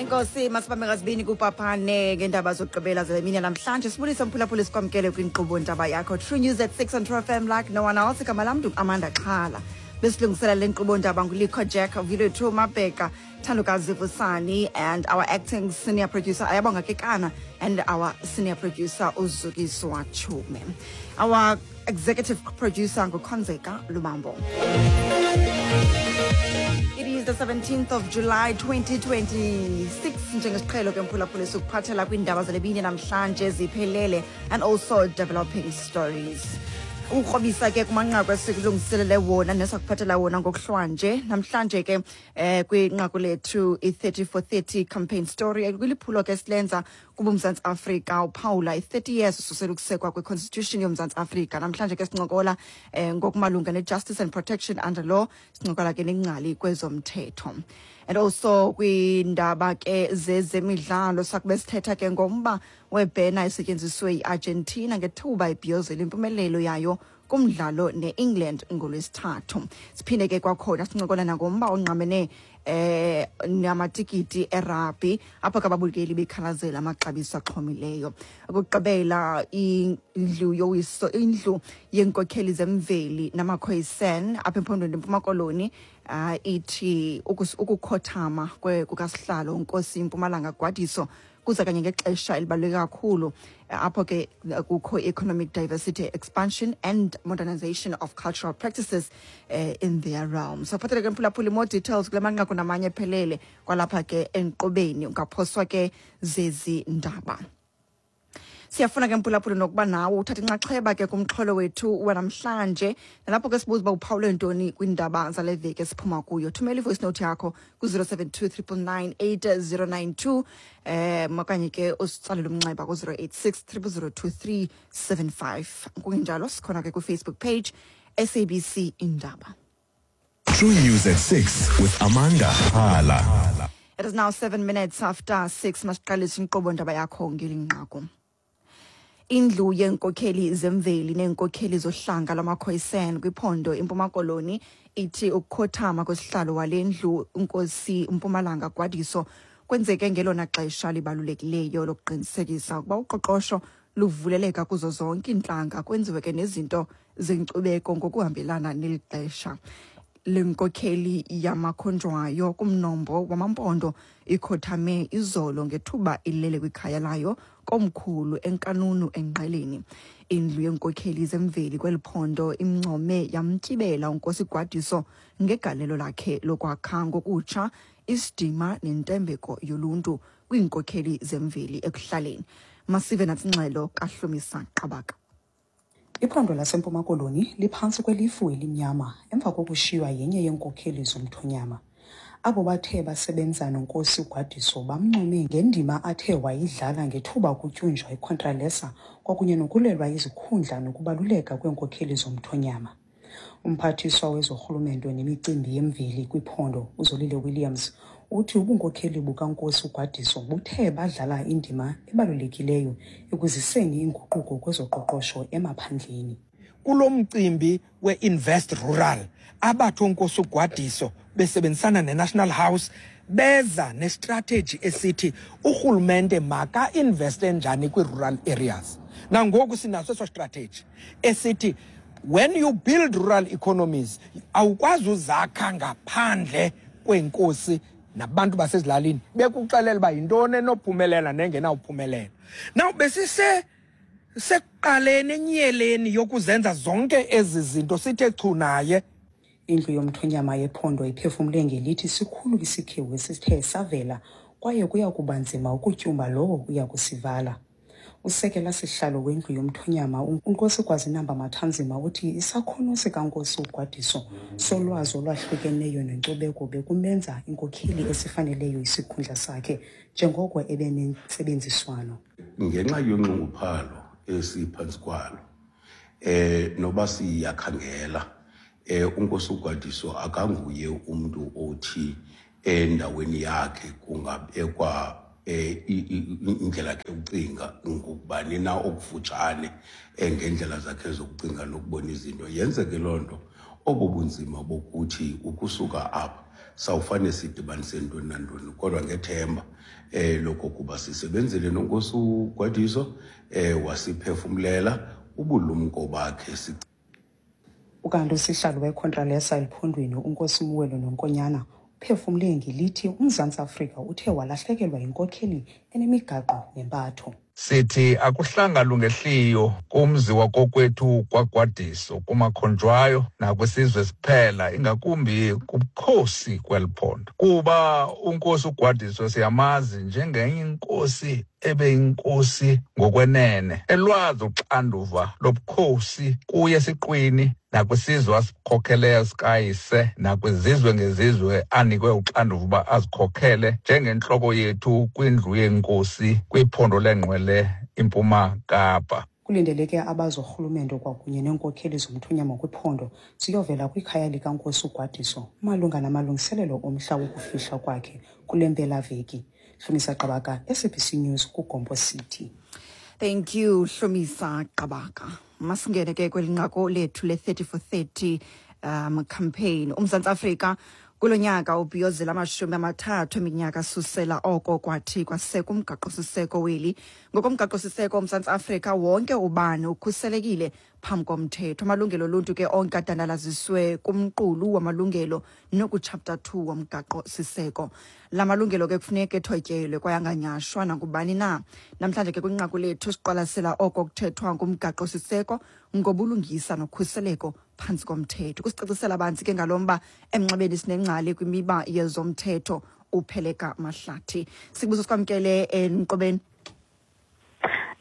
Enkosi, masibambe ngazibini kupaphane ngeendaba zokugqibela zale mini namhlanje. Sibulise mphulaphula, sikwamkele kwinkqubo Ndaba Yakho, True News at 6 on True FM like no one else. Igama lam Amanda Xhala. Besilungisela le nkqubo ndaba ngulikho Jack Vilethu Mabheka, Thandukazi Vusani and our acting senior producer Ayabonga Kekana and our senior producer uZukiswa Chume. Our executive producer nguKhonzeka Lubambo. It is the 17th of July 2026. Njengesiqhelo ke mphulaphula, sikuphathela kwiindaba zalebini namhlanje ziphelele and also developing stories. Ukrobisa ke kumanqaku esikulungiselele wona nesakuphathela wona ngokuhlwanje namhlanje ke kwinqaku lethu i-30 for 30 campaign story, kwiliphulo ke silenza kuba uMzantsi Afrika uphawula i-30 years ususela ukusekwa kwe-constitution yoMzantsi Afrika. Namhlanje ke sincokola ngokumalunga ne-justice and protection under law. Sincokola ke nengcali kwezomthetho. And also kwiindaba ke zezemidlalo, sakube sithetha ke ngomba webhena esetyenziswe yi-Argentina ngethuba ibhiyozela impumelelo yayo kumdlalo ne-England ngoLwesithathu. Siphinde ke kwakhona sincokola nangomba ongqamene namatikiti erabhi, apho ke ababukeli bekhalazela amaxabiso axhomileyo. Okugqibela, indlu yowiso, indlu yeenkokheli zemveli namaKhoisan apha ephondweni leMpuma Koloni ithi ukukhothama kukasihlalo uNkosi Mpumalanga Gwadiso kuza kanye ngexesha elibaluleke kakhulu, apho ke kukho economic diversity expansion and modernization of cultural practices in their realm. So phathele ke mphulaphuli more details kule manqaku namanye ephelele kwalapha ke enkqubeni, ungaphoswa ke zezi ndaba. Siyafuna ke mphulaphuli nokuba nawe uthathe inxaxheba ke kumxholo wethu wanamhlanje, nalapho ke sibuza uba uphawule ntoni kwiindaba zale veki esiphuma kuyo. Thumela i-voice note yakho ku-072 999 8092 okanye ke usitsalele umnxeba ku-086 000 2375. Kungenjalo sikhona ke kwi-Facebook page, SABC Indaba. True News at 6 with Amanda Hala. It is now 7 minutes after 6. Masiqalise inkqubo Ndaba Yakho ngeli nqaku. Indlu yeenkokheli zemveli neenkokheli zohlanga lwamaKhoisan kwiphondo iMpuma Koloni ithi ukukhothama kwesihlalo wale ndlu uNkosi Mpumalanga Gwadiso kwenzeke ngelona xesha libalulekileyo lokuqinisekisa ukuba uqoqosho luvuleleka kuzo zonke iintlanga, kwenziwe ke nezinto zenkcubeko ngokuhambelana neli xesha. Le nkokheli yamakhonjwayo kumnombo wamaMpondo ikhothame izolo ngethuba ilele kwikhaya layo komkhulu eNkanunu eNgqeleni. Indlu yeenkokheli zemveli kweli phondo imncome yamtyibela uNkosi Gwadiso ngegalelo lakhe lokwakha ngokutsha isidima nentembeko yoluntu kwiinkokheli zemveli ekuhlaleni. Masive nantsi ingxelo kaHlumisa Qabaka. Iphondo laseMpuma Koloni liphantsi kwelifu elimnyama emva kokushiywa yenye yeenkokheli zomthonyama. Abo bathe basebenza noNkosi uGwadiso bamncome ngendima athe wayidlala ngethuba kutyunjwa iContralesa kwakunye nokulwelwa izikhundla nokubaluleka kweenkokheli zomthonyama. Umphathiswa wezorhulumento nemicimbi yemveli kwiphondo uZolile Williams uthi ubunkokheli bukaNkosi uGwadiso buthe badlala indima ebalulekileyo ekuziseni inguquko kwezoqoqosho emaphandleni. Kulo mcimbi we-Invest Rural, abathi oNkosi uGwadiso besebenzisana ne-National House beza ne-strategy esithi urhulumente maka-investe njani kwi-rural areas. Nangoku sinaso eso strategy esithi when you build rural economies, awukwazi uzakha ngaphandle kweenkosi nabantu basezilalini bekuxelela uba yintoni enophumelela nengenawuphumelela. Now besise sekuqaleni enyeleni yokuzenza zonke ezi zinto, sithe chu naye. Indlu yomthonyama yephondo iphefumle ngelithi sikhulu isikhewu esithe savela kwaye kuya kuba nzima ukutyumba lowo uya kusivala. Usekela sihlalo wendlu yomthonyama uNkosi Gwazinamba Mathanzima uthi isakhono sikaNkosi uGwadiso solwazi olwahlukeneyo nenkcubeko bekumenza inkokheli esifaneleyo isikhundla sakhe njengoko ebenentsebenziswano. Ngenxa yonxunguphalo esiphantsi kwalo, noba siyakhangela, uNkosi uGwadiso akanguye umuntu othi endaweni yakhe kungabekwa indlela yakhe yokucinga ngokubani na okufutshane, ngendlela zakhe zokucinga nokubona izinto. Yenzeke loo nto obo bunzima bokuthi ukusuka apha sawufane sidibanise ntoni nantoni, kodwa ngethemba lokokuba sisebenzile noNkosi uGwadiso, wasiphefumlela ubulumko bakhe. Ukanti usihlalo weContralesa ephondweni uNkosi Muwelo Nonkonyana uphefumle ngelithi uMzantsi Afrika uthe walahlekelwa yinkokheli enemigaqo nempatho. Sithi akuhlanga lungehliyo kumzi wakokwethu kwaGwadiso, kumakhonjwayo nakwisizwe siphela, ingakumbi kubukhosi kweli phondo, kuba uNkosi uGwadiso siyamazi njengenye inkosi ebeyinkosi ngokwenene, elwazi uxanduva lobukhosi kuye siqwini nakwisizwe asikhokheleyo sikayise, nakwizizwe ngezizwe anikwe uxanduva uba azikhokhele njengentloko yethu kwindlu yenkosi kwiphondo lengqwele iMpuma Kapa. Kulindeleke abazorhulumento kwakunye neenkokheli zomthonyama kwiphondo ziyovela kwikhaya likaNkosi uGwadiso malunga namalungiselelo omhla wokufihlwa kwakhe kule mpelaveki. Hlumisa Qabaka, SABC News, kuGompo City. Thank you, Hlumisa Qabaka. Masingene ke kweli nqaku lethu le-30 for 30 campaign. UMzantsi Afrika kulo nyaka ubhiyozela 30 eminyaka susela oko kwathi kwasekwa umgaqo-siseko weli. Ngokomgaqo-siseko woMzantsi Afrika, wonke ubani ukhuselekile phambi komthetho. Amalungelo oluntu ke onke adandalaziswe kumqulu wamalungelo nokuchapter 2 womgaqo-siseko. La malungelo ke kufuneka ethotyelwe kwaye anganyashwa nangubani na. Namhlanje ke kwinqaku lethu siqwalasela oko kuthethwa ngumgaqo-siseko ngobulungisa nokhuseleko phantsi komthetho. Kusicacisela banzi ke ngalo mba emnxebeni sinengcali kwimiba yezomthetho uPheleka Mahlathi. Sibuso sikwamkele enkqubeni.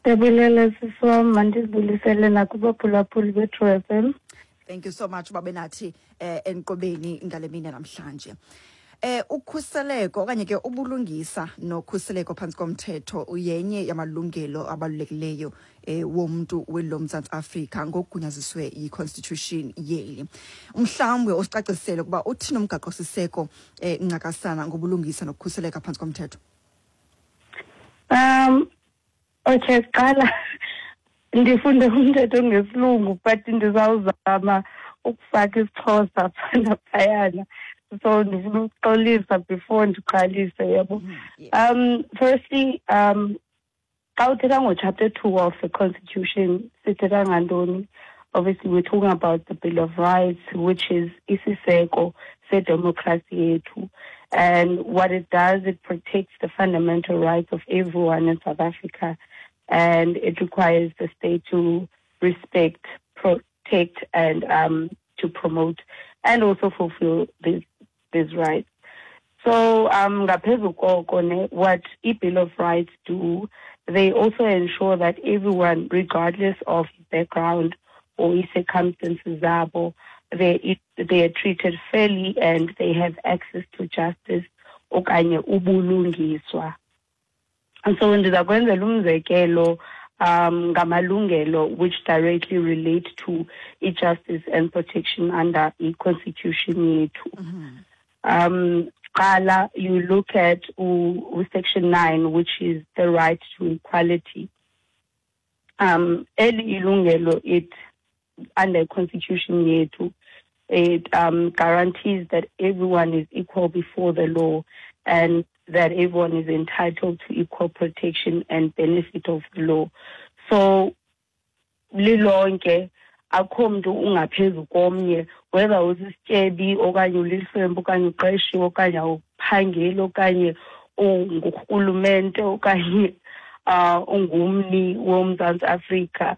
Ndiyabulela sisi wam, mandizibulisele nakubaphulaphuli be-True FM. Thank you so much babe nathi enkqubeni ngale mini namhlanje. Ukhuseleko okanye ke ubulungisa nokhuseleko phantsi komthetho uyenye yamalungelo abalulekileyo womntu weli loMzantsi Afrika ngokugunyaziswe yi-constitution yeli. Mhlawumbe usicacisele ukuba uthini umgaqo-siseko ncakasana ngobulungisa nokukhuseleka phantsi komthetho. Okay, qala ndifunde umthetho ngesilungu, but ndizawuzama ukufaka isiXhosa phana phayana. So ndifuna ukuxolisa before ndiqalise, yabo. Firstly, xa uthetha ngo-chapter 2 of the constitution, sithetha ngantoni? Obviously we're talking about the Bill of Rights, which is isiseko sedemocracy yethu. And what it does, it protects the fundamental rights of everyone in South Africa, and it requires the state to respect, protect, and to promote and also fulfill these rights. So ngaphezu koko ne, what i-Bill of Rights do, they also ensure that everyone, regardless of background or circumstances zabo, they are treated fairly and they have access to justice okanye ubulungiswa. And so ndiza kwenzela umzekelo ngamalungelo which directly relate to i-justice and protection under i-constitution yethu. Qala, you look at section 9, which is the right to equality. Eli ilungelo, it under constitution yethu, it guarantees that everyone is equal before the law and that everyone is entitled to equal protection and benefit of the law. So lilonke akho mntu ungaphezu komnye, whether usisityebi okanye ulihlwempu okanye uqeshiwe okanye awuphangeli okanye ungurhulumente okanye ungumni woMzantsi Afrika,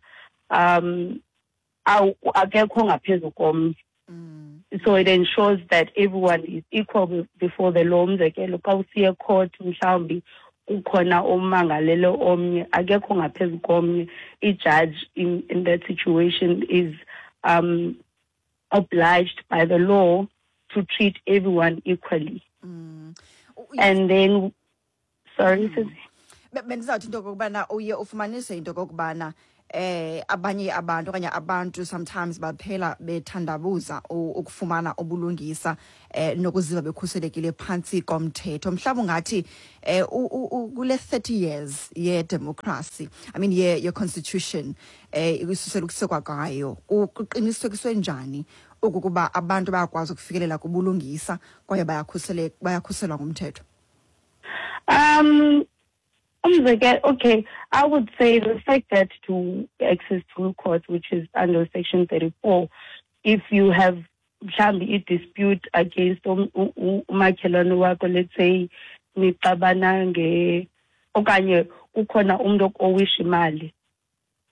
akekho ngaphezu komnye. So it ensures that everyone is equal before the law. Umzekelo, xa usiya court mhlawumbi kukhona omangalele omnye, akekho ngaphezu komnye. I-judge in that situation is obliged by the law to treat everyone equally. And then, sorry, Sisi. Bendizawuthi into okokubana uye ufumanise into okokubana abanye abantu okanye abantu sometimes baphela bethandabuza ukufumana ubulungisa nokuziva bekhuselekile phantsi komthetho. Mhlawumbi ungathi kule 30 years ye democracy, I mean ye constitution, isusela ukusekwa kwayo, kuqinisekiswe njani ukukuba abantu bayakwazi ukufikelela kubulungisa kwaye bayakhuselwa ngumthetho? Umzekelo, okay, I would say the fact that to access to court, which is under section 34, if you have mhlawumbi i-dispute against umakhelwane wakho, let's say nixabana nge okanye kukhona umntu okowisha imali,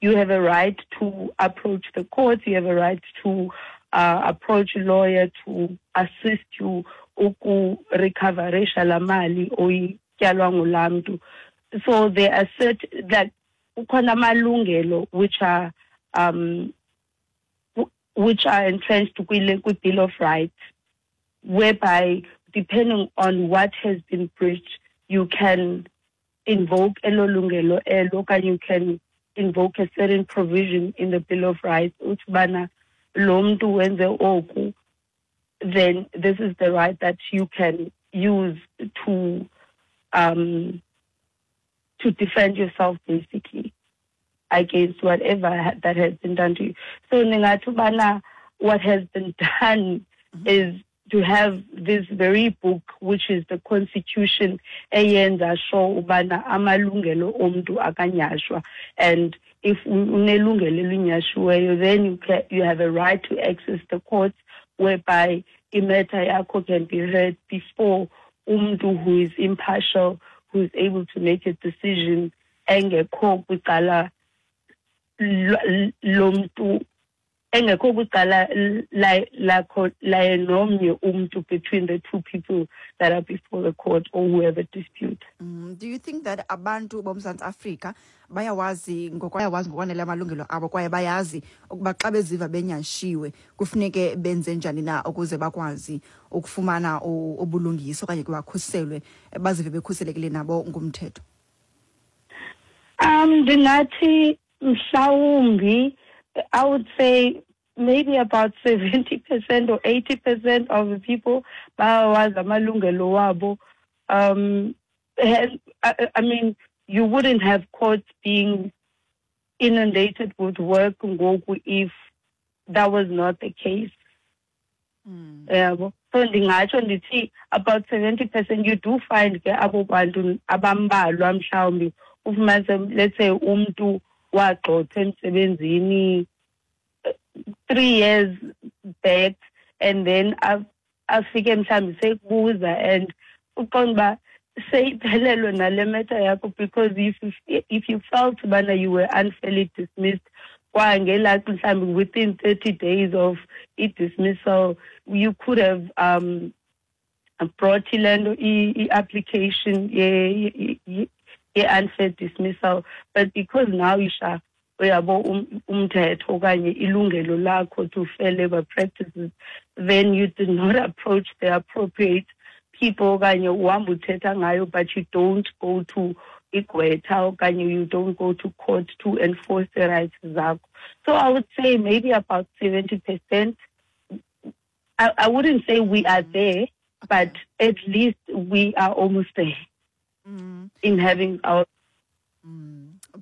you have a right to approach the court, you have a right to approach a lawyer to assist you ukurecoverisha laa mali oyityalwa ngulaa mntu. So there are certain that kukhona amalungelo which are entrenched kwi-Bill of Rights, whereby depending on what has been breached, you can invoke elo lungelo elo okanye you can invoke a certain provision in the Bill of Rights uthi ubana lo mntu wenze oku, then this is the right that you can use to defend yourself basically against whatever that has been done to you. So ndingathi ubana what has been done is to have this very book, which is the constitution, eyenza sure ubana amalungelo omntu akanyashwa, and if unelungelo elinyashiweyo, then you have a right to access the courts, whereby i-matter yakho can be heard before umntu who is impartial, who is able to make a decision engekho kwicala lomntu, engekho kwicala lakho laye nomnye umntu, between the two people that are before the court or who have a dispute. Do you think that abantu boMzantsi Afrika bayawazi ngokwanele amalungelo abo kwaye bayazi ukuba xa beziva benyashiwe kufuneke benze njani na ukuze bakwazi ukufumana ubulungisa okanye ke bakhuselwe, bazive bekhuselekile nabo ngumthetho? Ndingathi mhlawumbi I would say maybe about 70% or 80% of the people bayawazi amalungelo wabo. I mean, you wouldn't have courts being inundated with work ngoku if that was not the case. Yabo. So ndingatsho ndithi about 70%. You do find ke abo bantu abambalwa, mhlawumbi ufumanise, let's say, umntu wagxothwa emsebenzini 3 years back and then afike mhlawumbi sekubuza and uqonda uba seyiphelelwe nale matter yakho, because if you felt ubana you were unfairly dismissed kwangelaa mhlawumbi within 30 days of i-dismissal, you could have brought ile nto i-application ye-unfair dismissal, but because now isha uyabo umthetho okanye ilungelo lakho to fair labor practices, then you did not approach the appropriate people okanye uhamba uthetha ngayo but you don't go to igqwetha okanye you don't go to court to enforce the rights zakho. So I would say maybe about 70%. I wouldn't say we are there, but at least we are almost there in having our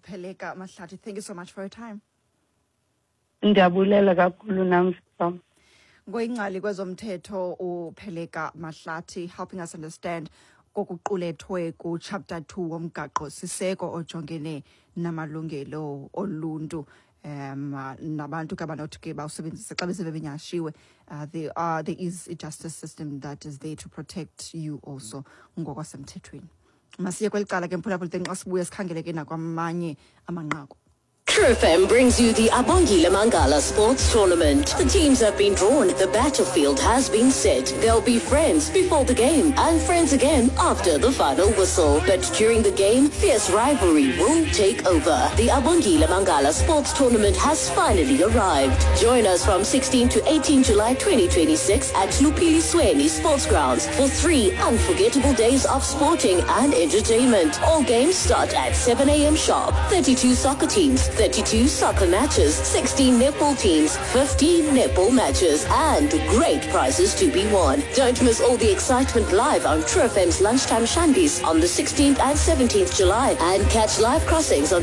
Pheleka Mahlathi, thank you so much for your time. Ndiyabulela kakhulu nam, sisi. Ngoyingcali kwezomthetho uPheleka Mahlathi, helping us understand kokuqulethwe ku-chapter 2 womgaqo siseko ojongene namalungelo oluntu nabantu ke abanothi ke bawusebenzise xa besive benyashiwe. There is a justice system that is there to protect you also ngokwasemthethweni. Masiye kweli cala ke, mphulaphuli, then xa sibuye sikhangele ke nakwamanye amanqaku. True FM brings you the Abongile Mangala Sports Tournament. The teams have been drawn, the battlefield has been set. They'll be friends before the game and friends again after the final whistle. But during the game, fierce rivalry will take over. The Abongile Mangala Sports Tournament has finally arrived. Join us from 16 to 18 July 2026 at Lupili Sweni Sports Grounds for 3 unforgettable days of sporting and entertainment. All games start at 7 a.m. sharp. 32 soccer teams, 32 soccer matches, 16 netball teams, 15 netball matches, and great prizes to be won. Don't miss all the excitement live on True FM's Lunchtime Shandies on the 16th and 17th July and catch live crossings on the